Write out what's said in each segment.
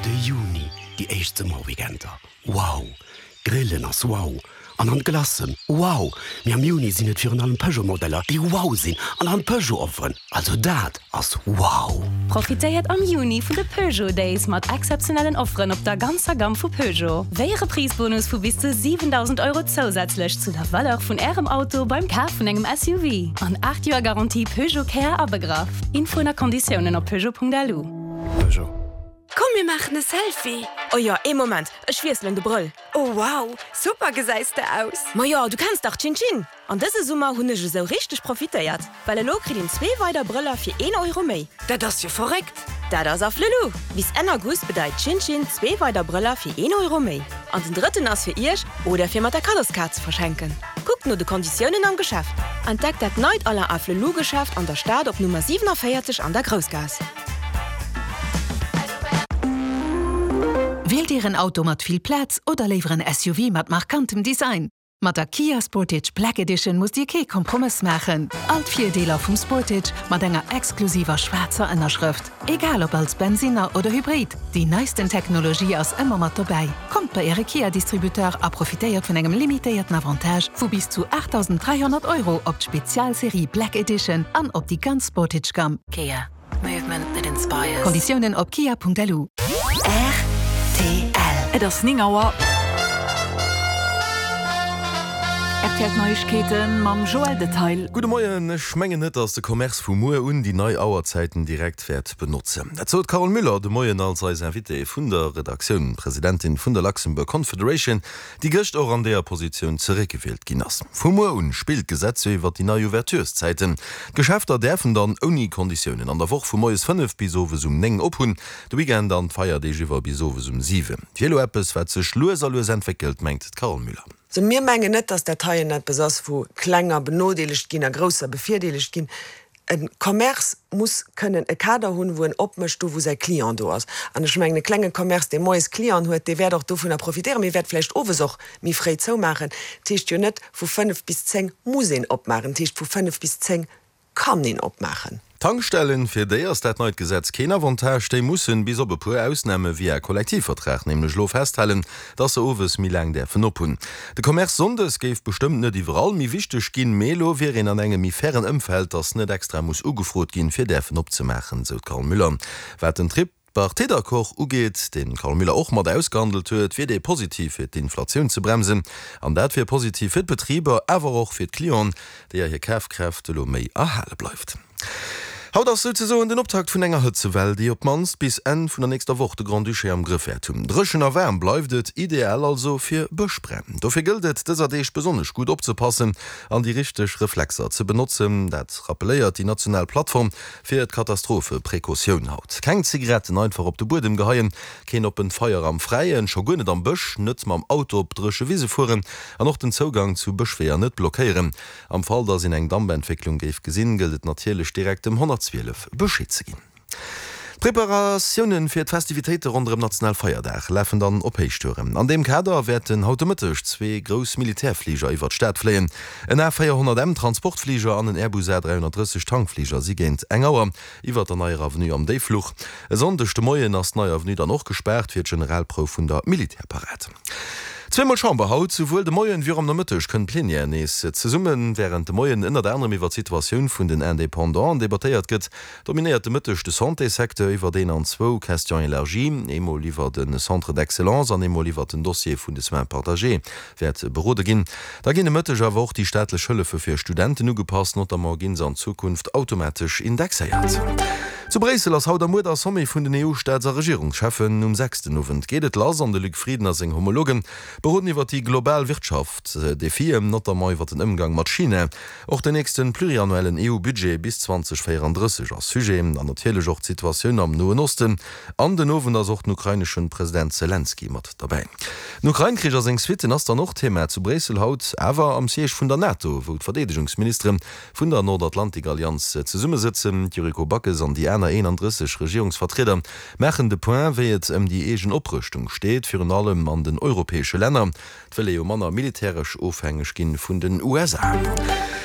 De Juni, déi éischt Summerweekender, wow! Grillen ass wow! An an d'Glacen, wow! Mee am Juni sinn et virun allem Peugeot-Modeller, déi wow sinn an an Peugeot-Offeren, also dat ass wow! Profitéiert am Juni vun de Peugeot Days mat exzeptionellen Offeren op der ganzer Gamm vu Peugeot, wéi e Reprise-Bonus vu bis zu 7.000 Euro zousätzlech zu der Valeur vun Ärem Auto beim Kaf vun engem SUV an 8 Joer Garantie Peugeot Care abegraff. Infoen a Konditiounen op peugeot.lu. Peugeot. Komm mir maachen e Selfie! Oh jo, ee Moment, ech wiesselen de Brëll. Oh wow, super gesäis de aus! Majo, du kenns dach Chin Chin! An dëse Summer hunn ech esou richteg profitéiert, well elo kritt een zwee weider Brëller fir een Euro méi. Dat ass jo verréckt! Dat ass Afflelou! Bis Enn August bedeit Chin Chin zwee weider Brëller fir een Euro méi. An den drëtten ass fir iech oder fir mat der Kaddoskaart ze verschenken. Kuckt no de Konditiounen am Geschäft. Entdeckt dat neit Alain Afflelou Geschäft an der Stad op Nummer 47 an der Groussgaass. Wielt Dir en Auto mat vill Plaz oder léiwer en SUV mat markantem Design? Mat der Kia Sportage Black Edition musst Dir kee Kompromëss maachen. All d'Virdeeler vum Sportage mat enger exklusiver schwaarzer Ënnerschrëft. Egal ob als Bensinner oder Hybrid, déi neisten Technologie ass ëmmer mat dobäi. Kommt bei Äre Kia-Distributeur a profitéiert vun engem limitéierten Avantage vu bis zu 8.300 Euro op d'Spezialserie Black Edition an op déi ganz Sportage-Gamm. Kia. Movement that inspires. Konditiounen op kia.lu. Rtl. Et ass 9 Auer. Rtl Neiegkeete mam Joël Detail. Gudde Moien, ech mengen net, datt de Commerce vu muer un déi nei Auerzäiten direkt wäert benotzen. Dat sot d'Carole Müller de Moien als eis Invitée vun der Redaktioun, Presidentin vun der Luxembourg Confederation, déi gëscht och an deeër Positioun zeréckgewielt ginn ass. Vu muer un spillt d'Gesetz jo iwwer déi nei Ouvertureszäiten. D'Geschäfter däerfen dann ouni Konditiounen an der Woch vu moies 5 bis owes um 9 op hunn, de Weekend an d'Feierdeeg iwwer bis owes um 7. Wier elo eppes, wat sech lues a lues entwéckelt, mengt d'Carole Müller. Also mir mengen net, dass dat heien eppes ass, wou Klenger benodeelegt ginn a Grousser bevirdeelegt ginn. E Commerce muss kënnen e Kader hunn, wou en opmécht, do wou säi Client do ass. An ech mengen, e klenge Commerce, dee moies Clienten huet, dee wäert och dovunner profitéieren, mee wäert vläicht owes och méi fréi zoumaachen. Dat heescht jo net, vu 5 bis 10 muss een opmaachen, dat heescht, vu 5 bis 10 kann een opmaachen. D'Tankstellen, fir déi ass dat neit Gesetz keen Avantage. Déi mussen, bis op e puer Ausname via Kollektivvertrag, nämlech elo festhalen, dass se owes méi laang däerfen op hunn. De Commerce sonndes géif bestëmmt net iwwerall méi wichteg ginn, mee elo wier een an engem méi fairen Ëmfeld, dass net extra muss ugefrot ginn, fir däerfen opzemaachen, sou d'Carole Müller. Wat den Tripartite-Accord ugeet, deen d'Carole Müller och mat ausgehandelt huet, wier dee positiv fir d'Inflatioun ze bremsen. An dat wier positiv fir d'Betriber, awer och fir d'Clienten, deeër hir Kafkraaft elo méi erhale bleift. Haut ass souzesoen den Optakt vun enger Hëtzewell, déi op d'mannst bis Enn vun der nächster Woch de Grand-Duché am Grëff wäert hunn. Dréchen a waarm bleift et, ideal also fir Bëschbränn. Dofir gëllt et dëser Deeg besonnesch gutt opzepassen an déi richteg Reflexer ze benotzen. Dat rappelléiert déi national Plattform fir d'Katastrophe-Precautioun haut. Keng Zigaretten einfach op de Buedem geheien, keen oppent Feier am Fräien, scho guer net am Bësch, net mam Auto op dréche Wise fueren an och den Zougang zu Bëschweeër net blockéieren. Am Fall, dass een eng Dampentwécklung géif gesinn, gëllt et natierlech direkt dem 112 Bescheed ze ginn. D'Preparatioune fir d'Festivitéite ronderëm Nationalfeierdag lafen dann op Héichtouren. An deem Kader wäerten haut de Mëtteg zwee grouss Militärfliger iwwer d'Stad fléien. En A 400 M Transportfliger an en Airbus A 330 Tankfliger si géint eng Auer iwwer der Neier Avenue am Déiffluch. E Sonndeg de Moien ass d'Nei Avenue dann och gespaart fir d'Generalprouf vun der Militärparad. Zweemol Chamber haut, Souwuel de Moien wéi och am Nomëtteg kënnt d'Plenière nees zesummen. Wärend de Moien ënnert anerem iwwer d'Situatioun vun den Independanten debattéiert gëtt, dominéiert de Mëtteg de Santéssecteur, iwwer deen an zwou Questions élargies, eemol iwwer de Centre d'excellence an eemol iwwer den Dossier vun de Soins partagés, wäert berode ginn. Da ginn de Mëtteg awer och déi staatlech Hëllefe fir Studenten ugepasst, notamment ginn se an Zukunft automatesch indexéiert. Zu Bréissel ass haut a muer der Sommet vun den EU-Staats a Regierungscheffen. Um 6 den Owend geet et lass an de Luc Frieden a seng Homologe beroden iwwer déi global Wirtschaftsdefien, notamment iwwer den Ëmgang mat China. Och den nächste pluriannuellen EU-Budget bis 2034 ass Sujet an natierlech och d'Situatioun am Noen Osten. An den Owend ass och den ukraineschen President Selenskyj mat derbäi. Den Ukrain-Krich a seng Suitten ass dann och Thema zu Bréissel haut, awer am Siège vun der NATO, wou d'Verdeedegungsministere vun der Nordatlantik-Allianz zesummesëtzen. D'Yuriko Backes an déi. aner 31 Regierungsvertrieder maachen de Point, wéi et ëm déi eegen Oprëschtung steet, virun allem an den europäesche Länner. Et wëll ee jo manner militäresch ofhängeg ginn vun den USA.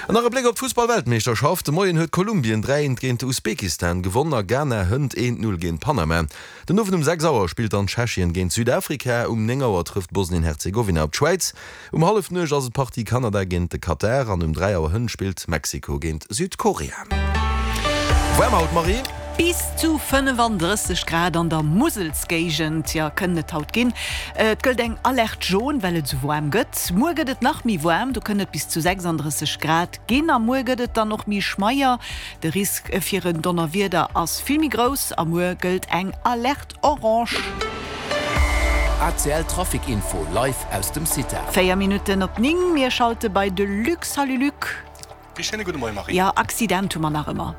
An nach e Bléck op d'Fussball-Weltmeeschterschaft, De Moien huet Kolumbien 3 eent géint Usbekistan gewonn a Ghana hënt 1, 0 géint Panama. Den Owend um 6 Auer spillt dann Tschechien géint Südafrika, um 9 Auer trëfft Bosnien-Herzegowina op d'Schwäiz, um Hallefnuecht ass et d'Partie Kanada géint de Katar an um 3 Auer hënt spillt Mexiko géint Südkorea. Waarm haut, Marie? Bis zu 35 Grad an der Muselsgéigend, jo, kënnen et haut ginn. Et gëllt eng Alerte jaune, well et esou waarm gëtt. Muer gëtt et nach méi waarm, do kënnen et bis zu 36 Grad ginn. A muer gëtt et dann och méi schmeier. De Risk fir en Donnerwieder ass vill méi grouss a muer gëllt eng Alerte orange. ACL Trafic Info live aus dem CITA. 4 Minutten op 9, mir schalte bei de Luc. Salut Luc. Ee schéine gudde Moie Marie. Jo, Accident hu mer nach ëmmer.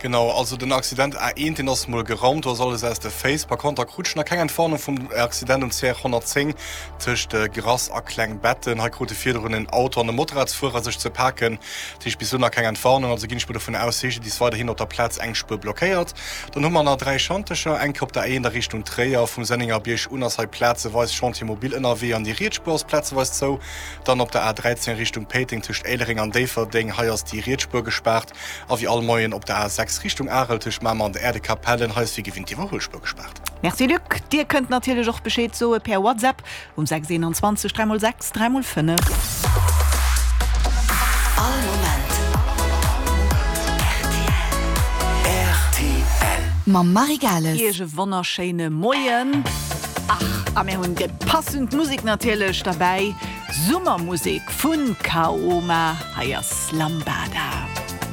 Genau, also den Accident A1, deen ass mol geraumt, do ass alles aus de Féiss. Par konter krut ech nach keng Entwarnung vum Accident um CR 110 tëscht Grass a Klengbetten. Hei krute virdrun en Auto an e Motorradsfuerer sech ze paken. Dat heescht bis elo nach keng Entwarnung, also ginn ech mol dovun aus, CGDIS weiderhin op der Plaz eng Spuer blockéiert. Dann hu mer nach 3 Schantecher, eng Kéier op der A1 a Richtung Tréier, vum Sennengerbierg un ass hei plazeweis Chantier mobile ënnerwee an déi riets Spuer ass plazeweis zou. Dann op der A13 Richtung Péiteng tëscht Éilereng an Déifferdeng, hei ass déi riets Spuer gespaart. A wéi all Moien op der A6 Richtung Arel tëscht Mamer an der Äerdekapellen, hei ass wéi gewinnt d'Iwwerhuelspuer gespaart. Merci Luc. Dir kënnt natierlech och Bescheed soe per WhatsApp um 6 21 3 x 6 3 x 5. All Moment rtl. Mam Marie Gales. Iech e wonnerschéine Moien. Ach, a mir hunn déi passend Musek natierlech derbäi, Summermusek vun Kaoma. Hei ass Lambada.